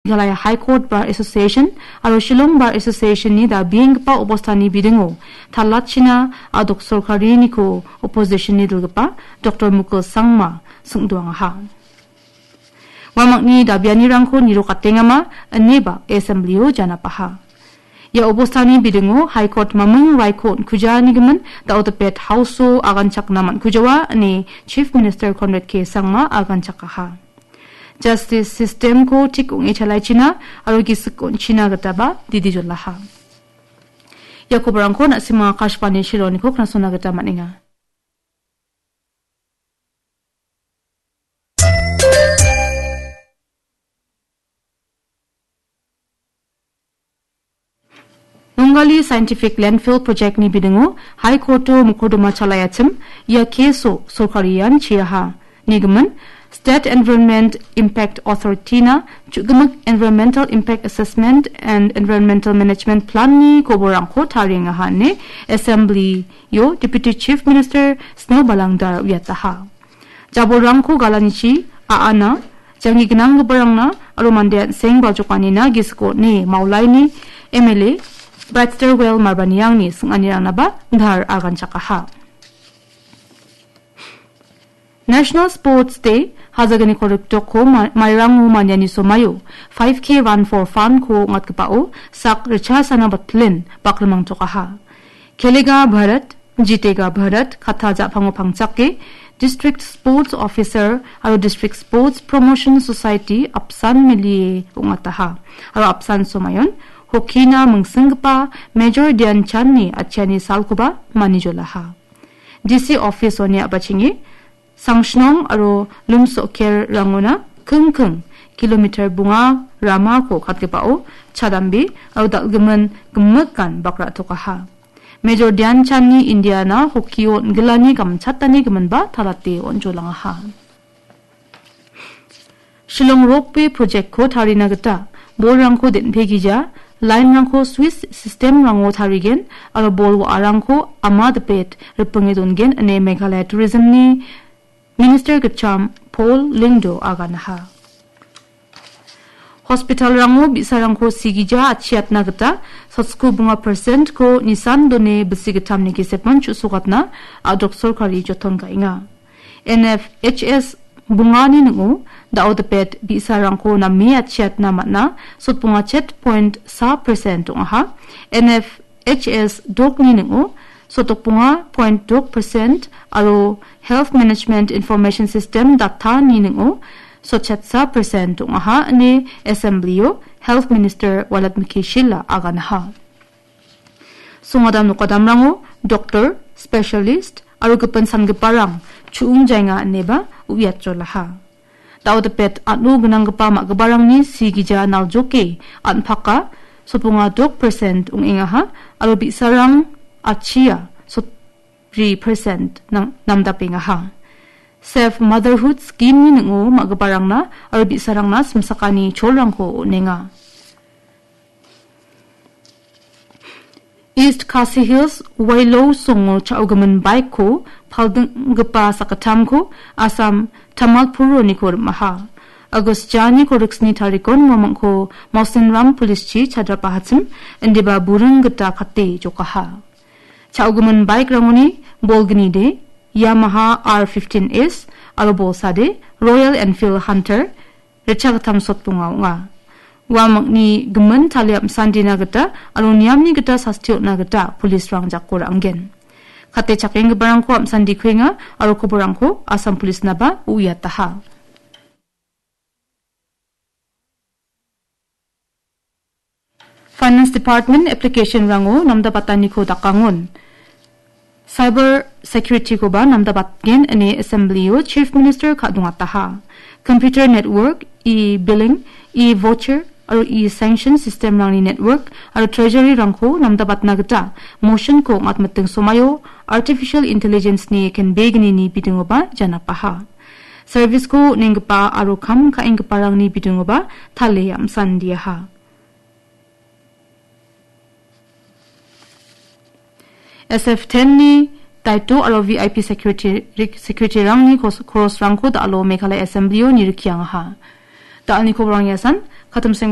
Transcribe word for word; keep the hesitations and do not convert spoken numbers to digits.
Meghalaya High Court Bar Association aro Shillong Bar Association-ni dabienggipa obostani bidingo talatchina a·dok sorkariniko opposition-ni dilgipa Doktor Mukul Sangma singdoangaha. Uamangni dabianirangko nirokatengama ineba assembly-o janapaha. Ia obostani bidingo High Court maming raiko on·kujanigimin da·o dipet House-o aganchakna man·kujawa ine Chief Minister Conrad K Sangma aganchakaha. Justice system-ko tik ong·e chalaichina aro gisik on·china gitaba didi jolaha. Ia kobarangko na·sima Akashvani Shillong-niko knasona gita man·enga. Nongali Scientific Landfill Project-ni bidingo High Court-o mokoldoma chalaiachim ia case-o sorkari ian chiaha. Nigimin, State Environment Impact Authority-na chu·gimik Environmental Impact Assessment and Environmental Management Plan-ni koborangko tariengaha ine Assembly-o Deputy Chief Minister Sniawbhalang Dhar uiataha. Jabolrangko galanichi a·ana, janggi gnanggiparangna aro mande an·seng baljokanina gisiko on·e Maulaini M L A Brightstarwell Marbaniangni sing·anirangnaba Dhar aganchakaha. National Sports Day, hajagniko riktoko ma-, mairango maniani somaio five K Run for Fun-ko ong·atgipao sak richasana batlin bakrimangtokaha. Khelega Bharat, Jitega Bharat katta ja·pango pangchake, District Sports Officer aro District Sports Promotion Society apsan milie ong·ataha. Aro apsan somaion, hockey-na mingsinggipa Major Dhyan Chand-ni atchiani salkoba manijolaha. D C office-oni a·bachenge, Sangshnong aro Lumsokerrangona kingking kilometer bonga ramako katgipao chadambe aro dal·gimin gimikan bak ra·tokaha. Major Dhyan Chand-ni Indiana hockey-o on·gilani gamchatani giminba talate on·jolangaha. Shillong Ropeway Project-ko tarina gita bolrangko den·pegija, line-rangko Swiss system-rango tarigen aro bol wa·arangko ama dipet ripinge dongen ine Meghalaya Tourism-ni Minister gitcham Paul Lyngdoh aganaha. Hospital-rango bi·sarangko sigija atchiatna gita sotsko bonga percent-ko nisan done bisi gittamni gesepan chu·sokatna a·dok sorkari joton ka·enga. N F H S bongani ning·o da·o dipet bi·sarangko name atchiatna man·a sotbonga chet point sa percent ong·aha. N F H S dokni ning·o sotbonga point dok percent aro Health Management Information System data-ni ning·o sotchetsa percent ong·aha ine Assembly-o Health Minister Walat Miki Shylla aganaha. Songadam nokadamrango doktor, specialist aro gipin sangiparang chu·ong jaenga ineba uiatjolaha. Da·o dipet an·o gnanggipa ma·giparangni sigija naljoke an·paka sotbonga dok percent ong·engaha aro bi·sarang atchia sotbri percent nang-, namdapengaha. Safe Motherhood Scheme-ni ning·o ma·giparangna aro bi·sarangna simsakani cholrangko on·enga. East Khasi Hills Wailou songo cha·ogimin bike-ko paldinggipa sakgittamko Assam Tamalpuroniko rim·aha. August jani koriksni tarikon uamangko Mausinram Police-chi chadrapahachim indiba buring gita kate jokaha. Cha·ogimin bike-rangoni bolgnide Yamaha R fifteen S aro bolsade Royal Enfield Hunter ritchagittam sotbonga ong·a. Uamangni gimin talia am·sandina gita aro niamni gita sasti on·na gita police-rang jako ra·angen. Kate chakenggiparangko am·sandi kuenga aro koborangko Assam Police-naba uiataha. Finance Department application-rango namdabataniko dakangon. Cyber security-koba namdabatgen ine Assembly-o Chief Minister ka·dongataha. Computer network, e-billing, e-voucher, aro e-sanction system-rangni network aro treasury-rangko namdabatna gita motion-ko ong·atmiting somaio artificial intelligence-ni kenbegnini bidingoba janapaha. Service-ko on·enggipa aro kam ka·enggiparangni bidingoba tale am·sandiaha. S F ten-ni daito aro V I P security, security-rangni kos-, korosrangko da·alo Meghalaya Assembly-o nirikiangaha. Da·alni koborang iasan, katim seng